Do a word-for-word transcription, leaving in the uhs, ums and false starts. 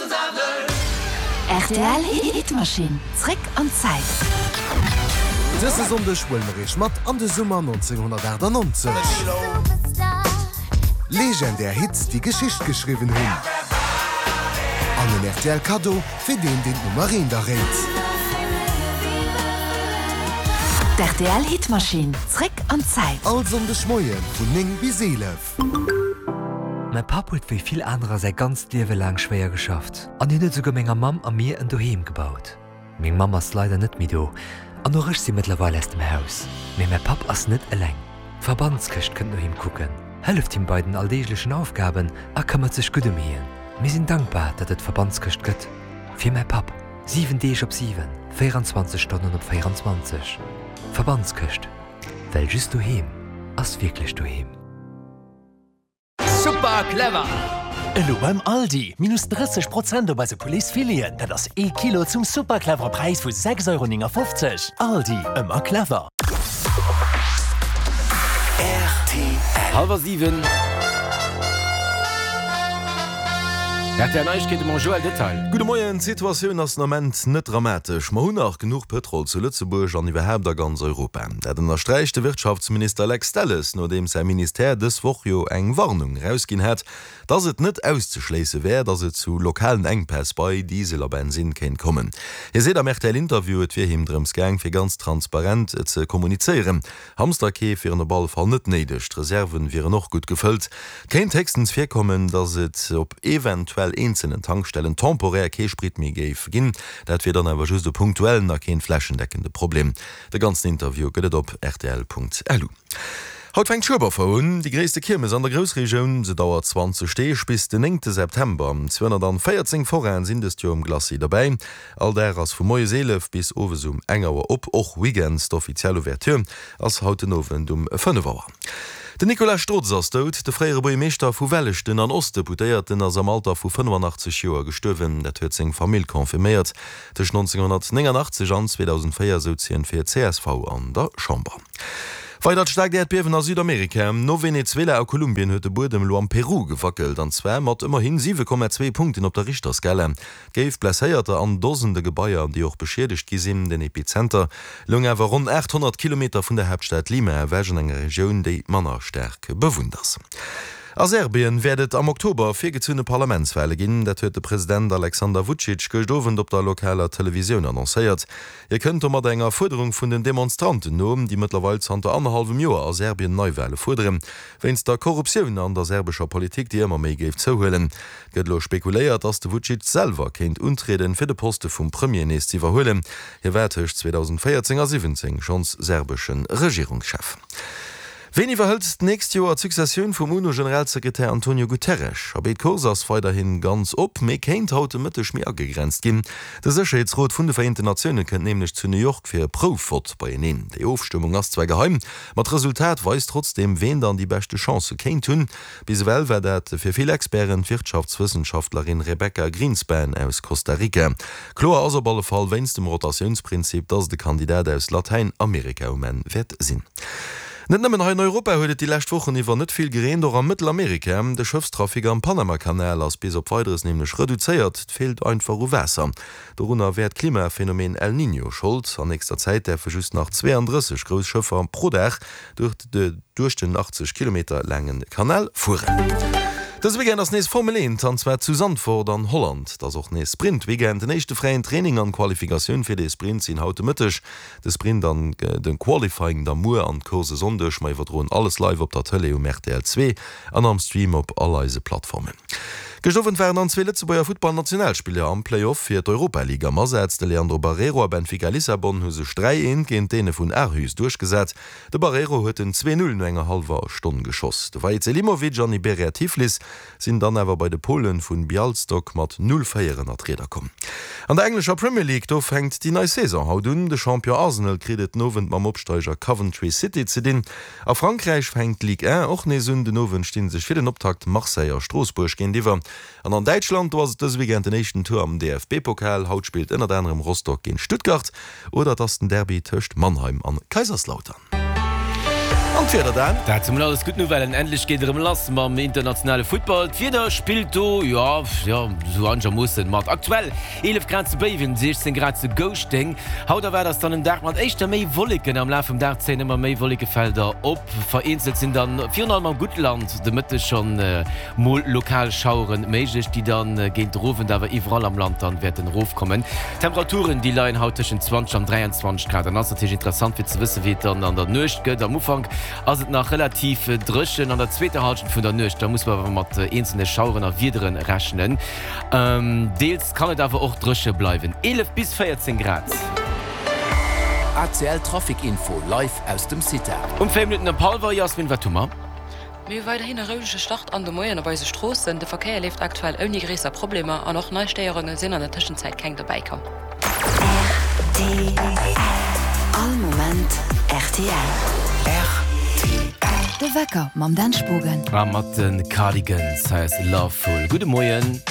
Rtl Hitmaschinn, zréck an d'Zäit. Dëse Sonndeg huele mer iech mat an de Summer nonzénghonnertaachtanonzeg. Legendär Hits, déi Geschicht geschriwwen hunn. An en rtl Kaddo fir deen, deen d'Nummer eent erréit. D'RTL Hitmaschinn, zréck an d'Zäit. All Sonndeg Moie vun néng bis eelef. Mäi Papp huet wéi vill anerer säi ganzt Liewe laang schwéier geschafft an hien huet esouguer menger Mamm a mir en Doheem gebaut. Meng Mamm ass leider net méi do an och ech si mëttlerweil aus dem Haus. Mee mäi Papp ass net eleng. D'Verbandskëscht kënnt no him kucken, hëlleft him bei den alldeeglechen Aufgaben a këmmert sech gutt ëm hien. Mir sinn dankbar, datt et d'Verbandskëscht gëtt. Fir mäi Papp. Siwen Deeg op siwen, véieranzwanzeg Stonnen op véieranzwanzeg. Verbandskëscht, well just doheem ass wierklech doheem. Super clever! Elo beim Aldi, minus drësseg Prozent op eise Pouletsfileten, dat ass ee Kilo zum super clevere Präis vu sechs Euro néngafofzeg. Aldi, ëmmer clever! Hallwer siwen. R T L Neiegkeete mam Joël Detail. Gudde Moien, D'Situatioun ass den Ament net dramatesch. Mer hunn nach genuch Pëtrol zu Lëtzebuerg an iwwerhaapt a ganz Europa. Dat ënnersträicht de Wirtschaftsminister Lex Delles, nodeems säi Ministère dës Woch jo eng Warnung erausginn hat, dass et net auszeschléisse wär, dass et zu lokalen Enkpäss bei Diesel a Bensinn kéint kommen. Hie seet am R T L-Interview, et wier him drëms gaang, fir ganz transparent ze kommunizéieren. Hamsterkeef wieren op alle Fall net néideg, d'Reserven wieren och gutt gefëllt. Et kéint héchstens virkommen, dass et op eventuell eenzelen Tankstellen temporär kee Sprit méi géif ginn. Dat wier dann awer just e punktuellen a keen flächendeckende Problem. De ganzen Interview gëtt et op rtl Punkt lu. Haut fänkt d'Schueberfouer un, déi gréisste Kiermes an der Groussregioun. Se dauert zwanzeg Deeg bis den néngte September. zweehonnertvéierzéng Forainen sinn dëst Joer um Glacis derbäi. All Dag ass vu moies eelef bis owes um eng Auer op, och Weekends. D'offiziell Ouverture ass haut den Owend um fënnef Auer. Den Nicolas Strotz ass dout. De fréiere Buergermeeschter vu Welleschten an Ostdeputéierten ass am Alter vu fënnefanachtzeg Joer gestuerwen. Dat huet seng Famill confirméiert. Tëscht nonzénghonnertnénganachtzeg an zweedausendvéier souz hien fir C S V an der Chamber. Weidert staarkt Äerdbiewen a Südamerika. No Venezuela a Kolumbien huet de Buedem elo am Peru gewackelt, an zwar mat ëmmerhi siwe Komma zwee Punkten op der Richterskala. Et géif Blesséierter an Dosende Gebaier, déi och beschiedegt gi sinn. Den Epizenter loung awer ronn aathonnert Kilometer vun der Haaptstad Lima ewech, an enger Regioun, déi manner staark bewunnt ass. A Serbien wäert et am Oktober virgezunne Parlamentswale ginn. Dat huet de President Alexander Vucic gëscht Owend op der lokaler Televisioun annoncéiert. Hie kënnt domat enger Fuerderung vun den Demonstranten no, déi mëttlerweil zanter annerhallwem Joer a Serbien Neiwale fuerderen, wéinst der Korruptioun an der serbescher Politik, déi ëmmer méi géif zouhuelen. Et gëtt elo spekuléiert, datt de Vucic selwer kéint untrieden, fir de Poste vum Premier nees ze iwwerhuelen. Hie war tëscht zweedausendvéierzéng a siwwenzéng schonns serbesche Regierungschef. Ween iwwerhëlt d'nächst Joer d'Successioun vum UNO-Generalsekretär Antonio Guterres? Abee, d'Course ass weiderhi ganz op, mee kéint haut de Mëtteg méi agegrenzt ginn. De Sécherheetsrot vun de Vereenten Natioune kënnt nämlech zu New York fir e Proufvott beieneen. Déi Ofstëmmung ass zwar geheim, ma d'Resultat weist trotzdeem, ween dann déi beschte Chancë kéint hunn. Bis ewell war dat fir vill Experten d'Wirtschaftswëssenschaftlerin Rebecca Grynspan aus Costa Rica. Kloer ass op alle Fall wéinst dem Rotatiounsprinzip, dass et e Kandidat aus Latäinamerika um Enn wäert sinn. Net nëmmen hei in Europa huet et déi lescht Wochen iwwer net vill gereent, och a Mëttelamerika. De Schëffstrafic am Panamakanal ass bis op Weideres nämlech reduzéiert, et feelt einfach u Waasser. Dorunner wär d'Klimaphenomen El Niño Schold. An nächster Zäit däerfe just nach zweeandrësseg grouss Schëffer pro Dag duerch den achtzeg Kilometer laange Kanal fueren. Dëse Weekend ass nees Formel eent, an zwar zu Zandvoort an Holland. Et ass och nees Sprint-Weekend. Den éischte fräien Training an d'Qualifikatioun fir de Sprint sinn haut de Mëtteg. De Sprint an de Qualifying da muer an d'Course e Sonndeg. Mer iwwerdroen alles live op der Tëlee um R T L zwee an am Stream op all eise Plattformen. Gëscht Owend waren dann zwee Lëtzebuerger Futtballnationalspiller am Play-Off fir d'Europa League am Asaz. De Leandro Barreiro a Benfica Lissabon hu sech dräi eent géint d'Däne vun Aarhus duerchgesat. De Barreiro huet den zwee null no enger hallwer Stonn geschoss. De Vahid Selimovic an Iberia Tiflis sinn dann awer bei de Polen vun Bialystok mat null véier ënner d'Rieder komm. An der englescher Premier League, do fänkt déi nei Saison haut un. De Champion Arsenal kritt et den Owend mam Opsteiger Coventry City ze dinn. A Frankräich fänkt d'Ligue un och nees un. Den Owend sti sech fir den Optakt Marseille a Stroossbuerg géintiwwer. An an Däitschland, do ass et dëse Weekend den éischten Tour am D F B-Pokal. Haut spillt ënnert anerem Rostock géint Stuttgart oder et ass den Derby tëscht Mannheim an Kaiserslautern. An d'Wieder dann? Dat si mol alles gutt Nouvellen. Endlech geet et erëm lass mam internationale Futtball. D'Wieder spillt do, jo, jo, sou einegermoossen mat. Aktuell eelef Grad zu Béiwen, siechzéng Grad zu Gouschteng. Haut erwaart eis dann en Dag mat éischter méi Wolleken. Am Laf vum Dag zéien ëmmer méi Wollekefelder op. Vereenzelt sinn dann virun allem am Guttland de Mëtteg schonn mol lokal Schauere méiglech, déi dann géint de Owend awer iwwerall am Land dann wäerten erofkommen. D'Temperaturen, déi leien haut tëschent zwanzeg an dräianzwanzeg Grad. An ass natierlech interessant fir ze wëssen, wéi et dann an der Nuecht gëtt. Am Ufank ass et nach relativ dréchen, an der zweeter Hallschent vun der Nuecht, da muss mer awer mat eenzelne Schaueren a Wiedere rechnen. Deels kann et awer och dréche bleiwen, eelef bis véierzéng Grad. A C L Trafic Info live aus dem CITA. Um véier Minutten op hallwer, Jasmin, wat hu mer? Mir hu weiderhin e rouege Start an de Moien op eise Stroossen. De Verkéier leeft aktuell ouni gréisser Problemer an och nei Stéierunge sinn an der Tëschenzäit keng dobäi komm. R T L. All Moment R T L. R T L. De Wecker mam Dan Spogen. A mat de Cardigans, hei ass Lovefool. Gudde Moien.